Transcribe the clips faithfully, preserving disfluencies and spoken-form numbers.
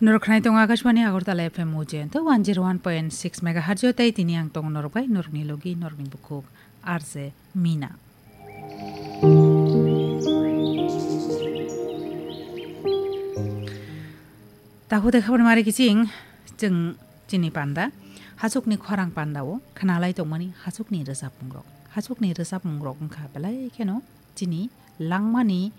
Norok khnai tongo Akashbani Agartala F M Mujento one zero one point six megahertz o, tei tini ang tongo norok bai norokni logi norokni bukhuk R J Mina. Tahu de khabar mari kiching chwng chini panda, hachukni khorang panda o khnalai tongmani hachukni rwchapmung rok. Hachukni rwchapmung rok wngkha belai kheno chini langmani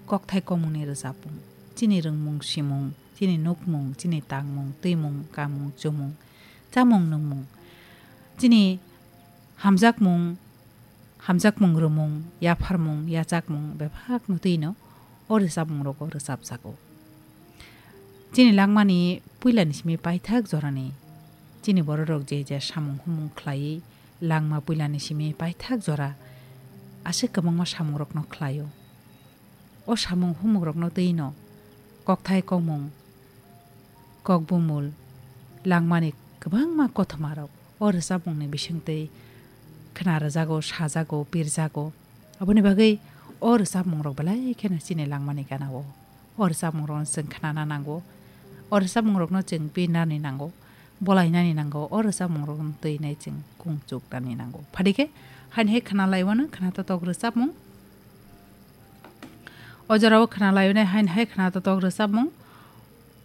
kokthai komungni rwchapmung, chini rwngmung simung, chini nukmung, chini tangmung, twimung, kamung, chumung, chamung, nungmung, chini hamjakmung, hamjakmung rwmung, yapharmung, yachakmung, bebak no twino o rwchapmung rogo rwchapjago. Chini langmani puilani simi paithak jorani chini bororok je je samung humung khlaiwi langma puilani simi paithak jora aswk kwbangma samungrokno khlaio. O samung humukrokno twino kokthai komung, kokbumul, langmani kwbangma kothoma rok o rwchapmungni bisingtwi khna rwjago, sajago, pirjago. Aboni bagwi o rwchapmung rok belai kheno chini langmani gana o. O rwchapmung rokno chwng khnana nango. O rwchapmung rokno chwng pirnani nango, bolainani nango. O rwchapmung rokno twi nai chwng kung chuknani nango. Phadikhe haini hai khna laiwano khna totok rwchapmung. O jorao khna laio nai haini hai khna totok rwchapmung.